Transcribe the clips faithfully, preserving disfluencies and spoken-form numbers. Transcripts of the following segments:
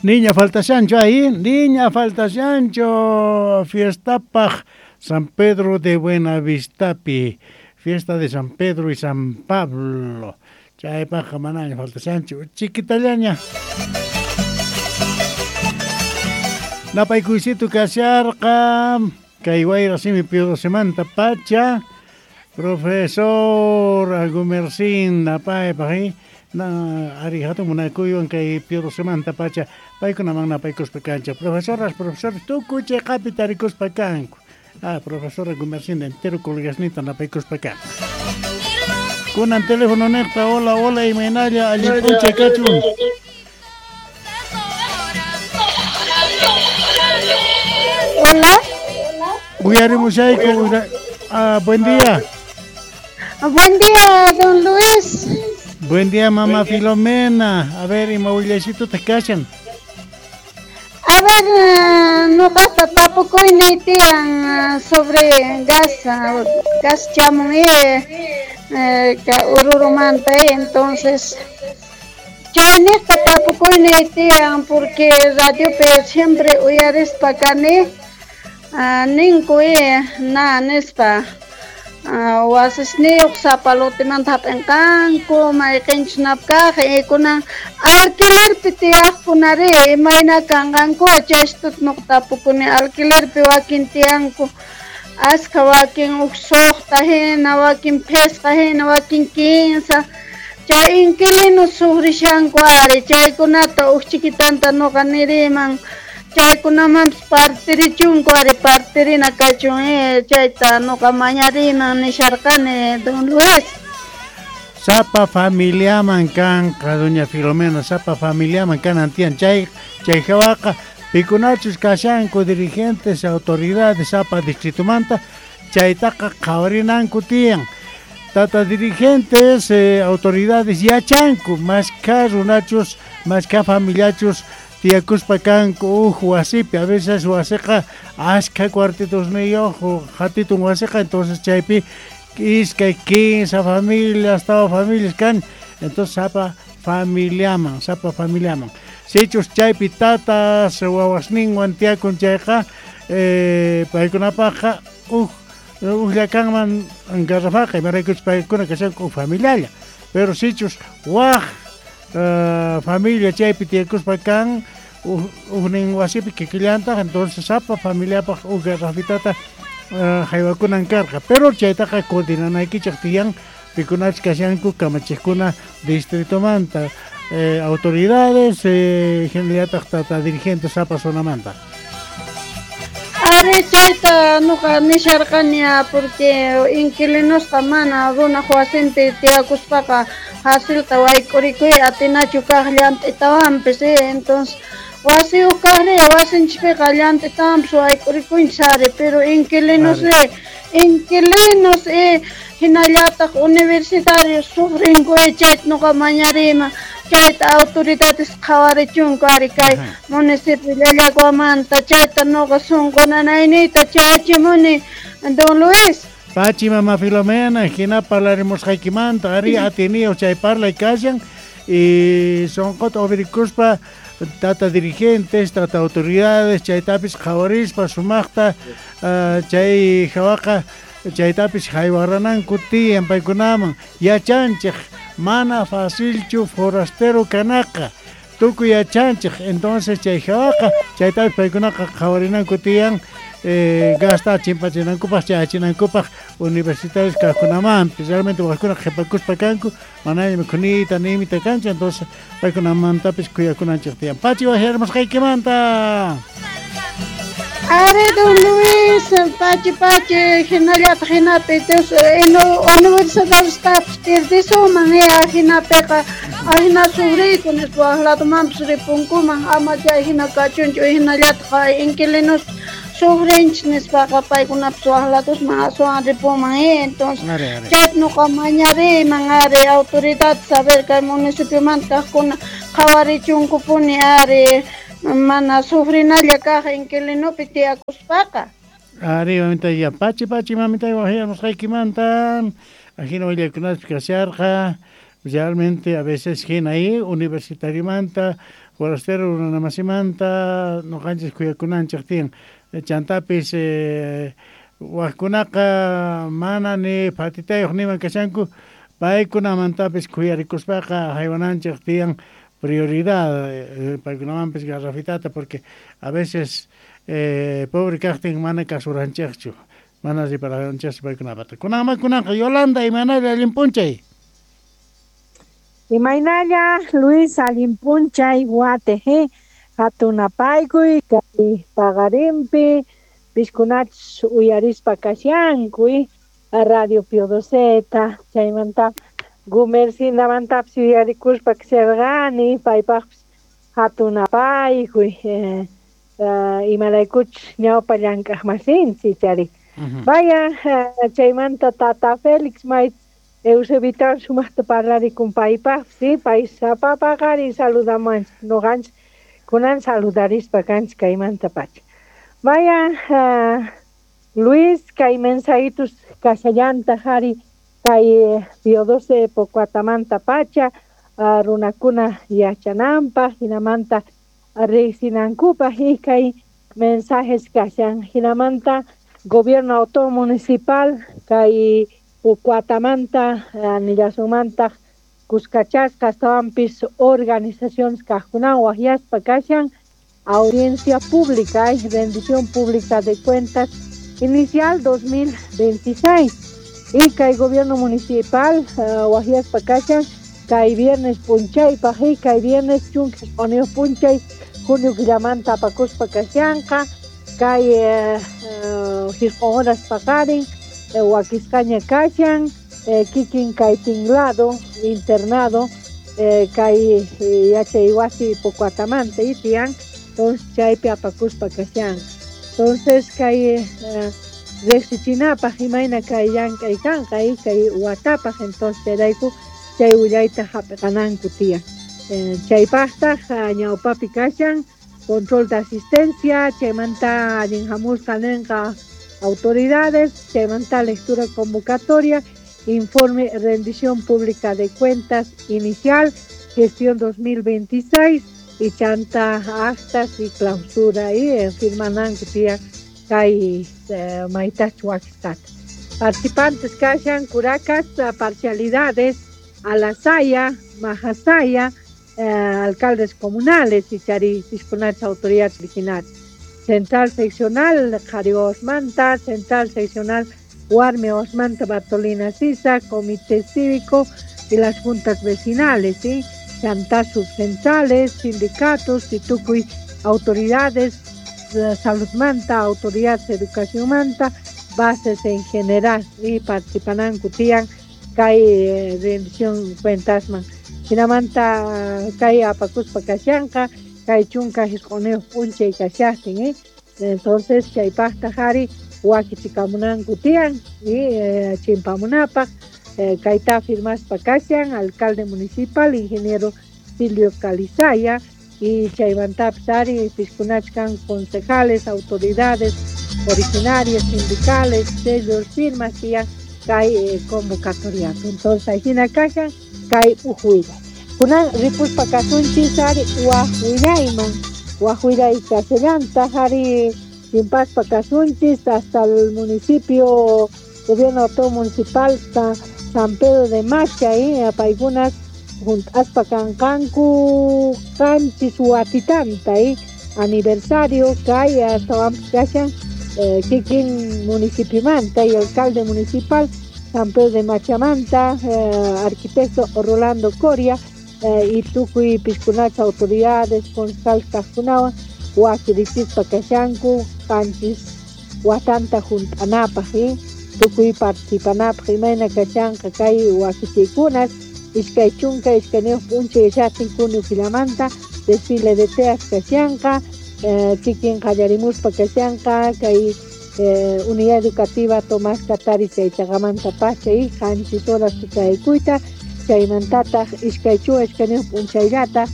Niña faltashancho ahí, niña faltashancho, fiestapaj San Pedro de Buenavistapi, fiesta de San Pedro y San Pablo. Chaypajqa manaña faltashancho, chiquitallaña. Napaykuysito kasharqa, kay wayra simi piudosemanta pacha, profesor Gumersin napaypaj, na ari hatun munakuywan kay piudosemanta pacha, paykunaman napaykuspa kancha. Profesoras, profesores, tukuy chayqapi tarikuspa kanku. Ah, profesora Gumersinda entero colegasnita napaykuspa kanku. Kunan teléfono niqta, hola, hola, imaynalla, allin p'unchay kachun. Hola. Uyarimushayku, ah, buen día. Buen día, don Luis. Buen día, mamá Filomena. A ver, ima willaycito te kashan. A ver, noqata tapukuynay tiyan sobre gas, gas chamun eh, Orurumanta, entonces chayniqta tapukuynay tiyan porque radiopi siempre uyarispa kani ninku na nispa wasisniyuq sapalotimanta hap'inqanku mayqinchus napkaq kunan alquilerpi tiyaqkunari imayna kanqanku chaystuta nuqa tapukuni alquilerpi wakin tiyanku askha wakin huk suqta hina wakin phisqa hina wakin kinsa chay inquilinos sufrishanku ari chaykunata huk chiquitanta nuqa niriman chaykunamanpis partirichunku ari partirina kachun eh, chayta nuqa mañariman nisharqani don Luis. Sapa familiaman kanqa doña Filomena, sapa familiaman kanan tiyan chay chay hawaqa pikunachus kashanku dirigentes, autoridades sapa distritumanta chaytaqa qhawarinanku tiyan. Tata dirigentes, eh, autoridades yachanku mashka runachus, mashka familiachus tiyakuspa kanku uj wasipi, a veces wasiqa ashka cuartitosniyuq hatitun wasiqa, entonces chaypi iskay quince familias, tawa familias kan, entonces sapa familiaman, sapa familiaman. Sichus chaypi tatas wawasninwan tiyakun chayqa eh, paykunapaqqa uj ujllakanman garrafaqa imaraykuchus paykuna kashanku uj familialla, pero sichus waj Uh, familia chaypi tiyakuspa kan ujnin wasipi kikillantaq, entonces sapa familiapaq uj garrafitata uh, haywakunan karqa, pero chaytaqa coordinanaykichik tiyan pikunachus kashanku kamachiqkuna distritomanta, eh, autoridades, eh, hinallataq tata dirigentes sapa zonamanta. Ari chayta nuqa nisharqani porque inquilinosqa mana runaq wasinpi tiyakuspaqa facilta wayk'urikuy atinachu kaq llant'itawanpis, entonces wasiyuq kaqri wasinchikpiqa llant'itawanpis wayk'urikunchis ari, pero inquilinos inquilinos hinallataq universitarios sufrinku chayta nuqa mañariyman chayta autoridades qhawarichunku ari kay municipio Llallaguamanta chayta nuqa sunqu nanayniyta chayachimuni don Luis. Pachi mama Filomena, hina parlarimusqaykimanta ari atiniyo chay parlay kashan y sunquta ubirikuspa tata dirigentes, tata autoridades chaytapis qhawarispa sumaqta uh, chay hawaqa chaytapis haywarananku tiyan paykunaman yachanchik mana facilchu forastero kanaqa tukuy yachanchik, entonces chay hawaqa chaytapis paykunaqa qhawarinanku tiyan eh, gasta chimpachinankupaq chayachinankupaq universitarios kaqkunamanpis realmente wajkuna qhipakuspa kanku manaña mikhunita nimita kanchu, entonces paykunamantapis kuyakunanchik tiyan. Pachi wajyarimusqaykimanta. Ari don Luis, pachi pachi hinallataq hinapi universidadestapis pierdisuman hinapiqa ahina sufriyku nispa waj ladomanpis ripunkuman ama chay hina kachunchu hinallataq inquilinos sufrinchis nispaqa paykunapis waj ladosman aswan ripunman, entonces chayta nuqa mañariyman ari autoridades saber kay municipiomanta kaqkuna qhawarichunkupuni ari mana sufrinalla kaq inquilinopi tiyakuspaqa. Ari mamita ya pachi pachi mamita wajyamusqaykimanta ajina willakunaspi kasharqa Realmente a veces hina ahí universitariomanta forastero runamasimanta ñuqanchis khuyakunanchik tiyan. Chantapis eh, waqkunaqa mana ni phatitayuq niman kashanku, paykunamantapis khuyarikuspaqa haywananchik tiyan prioridad eh, paykunamanpis garrafitata, porque a veces eh, pobre kaqtin mana kasuranchikchu, mana riparanchikchu paykunapata. Kunanman kunanqa Yolanda, imaynalla allin p'unchay? Imaynalla Luis, allin p'unchay wate hatunapaykuy kay paqarinpi piskunachus uyarispa kashanku Radio Pio Doceta, chaymanta Gumercindamantapis uyarikuspa kasharqani, paypaqpis hatunapaykuy eh, uh, imaraykuchus ñawpa llank'aqmasinchik chari. Vaya, uh, chaymanta tata Félix may Eusebitawan sumaqta parlarikun paypaqpis, sí, pay sapa paqarin saludamuwanchik, ñuqanchik kunan saludarispa kanchik kaymanta pacha. Vaya, uh, Luis, kay mensajitos kashallantaq ari kay Pio doce Pocuatamanta pacha, uh, runakuna yachananpaq, hinamanta riqsinankupaq y kay mensajes kashan, hinamanta gobierno autónomo municipal kay Pocuatamanta uh, nillasunmantaq kuskachasqa astawanpis organizaciones kaqkunawan waqyaspa kashan audiencia pública y rendición pública de cuentas inicial dos mil veintiséis y kay gobierno municipal uh, waqyaspa kashan kay viernes p'unchaypaq y kay viernes chunka isq'uniyuq p'unchay junio killamanta apakuspa kashanqa kay uh, uh, horas paqarin eh, wakisqaña kashan eh, kikin kay tinglado internado eh, kay eh, yachay wasi Pocuatamanta y tiyan, entonces chaypi apakuspa kashanqa. Entonces kay eh, riqsichinapaq imayna kay llank'ay kanqa y kay watapaq, entonces chayrayku chay willayta hap'iqananku tiyan. Eh, chaypaqtaq ñawpapi kashan control de asistencia, chaymanta allin hamusqa ninqa autoridades, chaymanta lectura convocatoria, informe rendición pública de cuentas inicial, gestión dos mil veintiséis y chanta actas y clausura y eh, firmananku tiyan kay eh, maytach wakisqata. Participantes kashan curacas, parcialidades, Alasaya, Majasaya, eh, alcaldes comunales y chari piskunachas autoridades originales. Central seccional Jari Osmanta, central seccional Huarme Osmanta Bartolina Sisa, comité cívico y las juntas vecinales, ¿sí? Chantas subcentrales, sindicatos, titucuy, autoridades, salud manta, autoridades de educación manta, bases en general, y participan tiyan kay eh, rendición cuentas man. Hinamanta kay apakuspa kashanqa, kay chunka isq'uniyuq p'unchay kashaqtin, ¿eh? Entonces chaypaqta hari wakichikamunanku tiyan y eh, chimpamunapaq eh, kayta firmaspa kashan alcalde municipal ingeniero Silvio Calizaya y chaymantapis ari piskunachkan concejales, autoridades originarias, sindicales, sellos, firmas tiyan kay eh, convocatoria. Entonces ahina kashan kay ujuilla. Kunan ripuspa kasunchis ari wajwillayman, wajwillay kashallantaq ari chimpaspa kasunchis hasta el municipio, gobierno autónomo municipal San Pedro de Macha, eh, paykunas junt'aspa kanqanku qanchis watitanta, eh, aniversario kay astawanpis kashan eh, kikin municipiomanta y alcalde municipal San Pedro de Machamanta, eh, arquitecto Rolando Coria, eh, y tukuy piskunacha autoridades concejal kaqkunawan wakirichispa kashanku qanchis watanta junt'anapaq, eh, tukuy participanapaq imayna kashanqa kay wakichiykunas iskay chunka iskayniyuq p'unchay yachaqtin junio killamanta desfile de teas kashanqa, eh, kikin qallarimuspa kashanqa kay eh, unidad educativa Tomás Katari chaychaqamanta pacha y qanchis horas tutaykuyta chaymantataq iskay chunka iskayniyuq p'unchayllata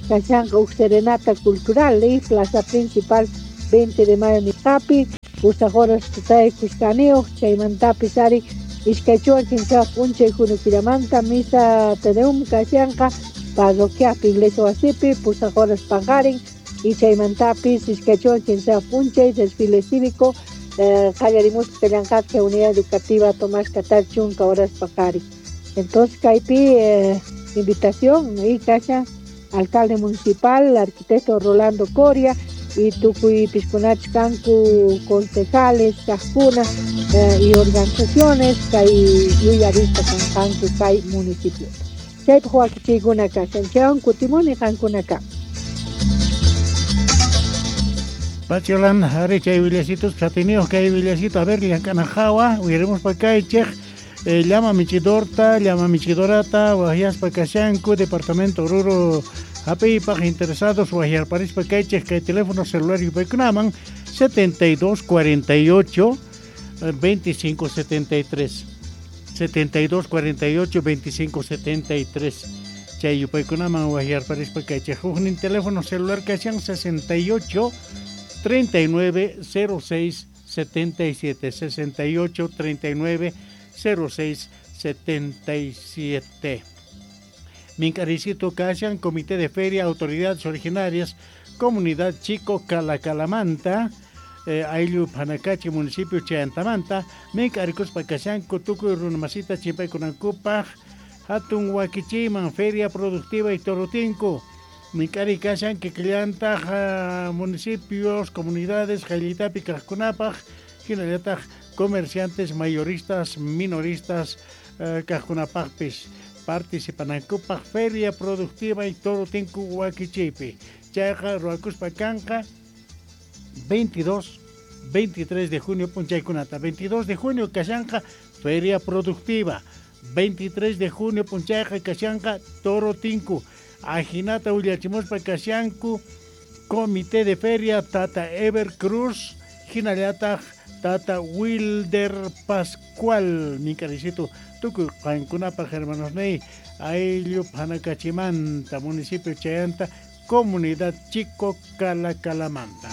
kashanqa huk serenata cultural y plaza principal veinte de mayo nisqapi pusaq horas tutaykusqaniyuq chaymantapis ari Iskay chunka p'unchay junio killamanta misa Te Deum kashanqa parroquiapi iglesia wasipi pusaq horas paqarin y chaymantapis iskay chunka p'unchay desfile cívico qallarimuspa kallanqatqa unidad educativa Tomás Catar chunka horas paqarin. Entonces kaypi eh, invitación y kashan alcalde municipal arquitecto Rolando Coria y tukuy piskunach kanku concejales kaqkuna eh, y organizaciones kay yuyarista kanqanku kay municipio. Chaypaq wakichiykuna kashan chaywan kutimuni qankuna ka. Pacholan, ari chay willasitos chatiniyuq kay willasito a ver llank'anajawa uyarimuspa kaychik eh, llama michidorta llama michidorata wajyaspa kashanku departamento Oruro hap'iypaq interesados wajyarparispa kaychik kay teléfono celular yupaykunaman setenta y dos cuarenta y ocho veinticinco setenta y tres setenta y dos cuarenta y ocho veinticinco setenta y tres chay yupaykunaman wajyarparispa kaychik huknin teléfono celular kashan sesenta y ocho treinta y nueve cero seis setenta y siete sesenta y ocho treinta y nueve cero seis setenta y siete. Minkaricito kashan Comité de Feria, Autoridades Originarias, Comunidad Chico Calacalamanta, eh, Ayllu Panacachi, Municipio Chayantamanta, Minkarikuspa kashanku tukuy runamasita chimpaykunankupaq hatun wakichiyman Feria Productiva y Torotinku. Minkari kashan kikillantaq uh, municipios, comunidades, qayllitapi kaqkunapaq, hinallataq comerciantes, mayoristas, minoristas uh, kaqkunapaqpis participanankupaq Feria Productiva y Torotinku wakichiypi. Chayqa ruwakuspa kanqa veintidós, veintitrés de junio punchaykunata. veintidós de junio kashanqa Feria Productiva. veintitrés de junio punchayqa kashanqa Torotinku. Ajinata willachimuspa kashanku Comité de Feria Tata Ever Cruz, hinallataq Tata Wilder Pascual. Minkaricito tukuy qankunapaq hermanos ney ayllu Panacachimanta, municipio Chayanta, Comunidad Chico Calacalamanta.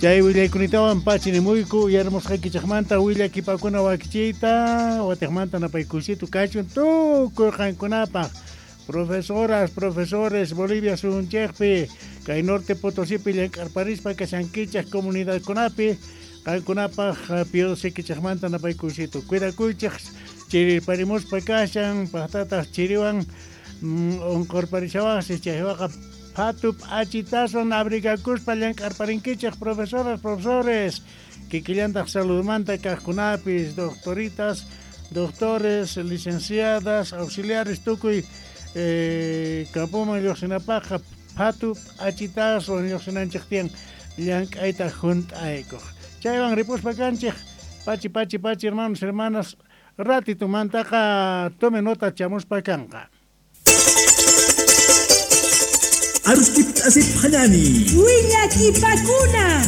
Chay willaykunatawan pachinimuyku uyarimusqaykichikmanta willakipakuna wakichiyta watiqmanta napaykusitu kachun tukuy qankunapaq profesoras, profesores Bolivia suyunchikpi kay Norte Potosipi llank'arparispa kashankichik comunidadkunapi qankunapaq piodosikichikmanta napaykusitu cuidakuychik chirirparimuspa kashan paqtataq chiriwan unqurparishawaqsi chaywaqa phatu p'achitaswan abrigakuspa llank'arparinkichik profesoras, profesores kikillantaq saludmanta kaqkunapis doctoritas, doctores, licenciadas, auxiliares tukuy eh, campoman lluqsinapaqqa phatu p'achitaswan lluqsinanchik tiyan llank'ayta hunt'aykuq. Chaywan ripuspa kanchik pachi pachi pachi hermanos, hermanas ratitumantaqa tome nota chamuspa kanqa. Arustip asip hanani. Willakipakuna.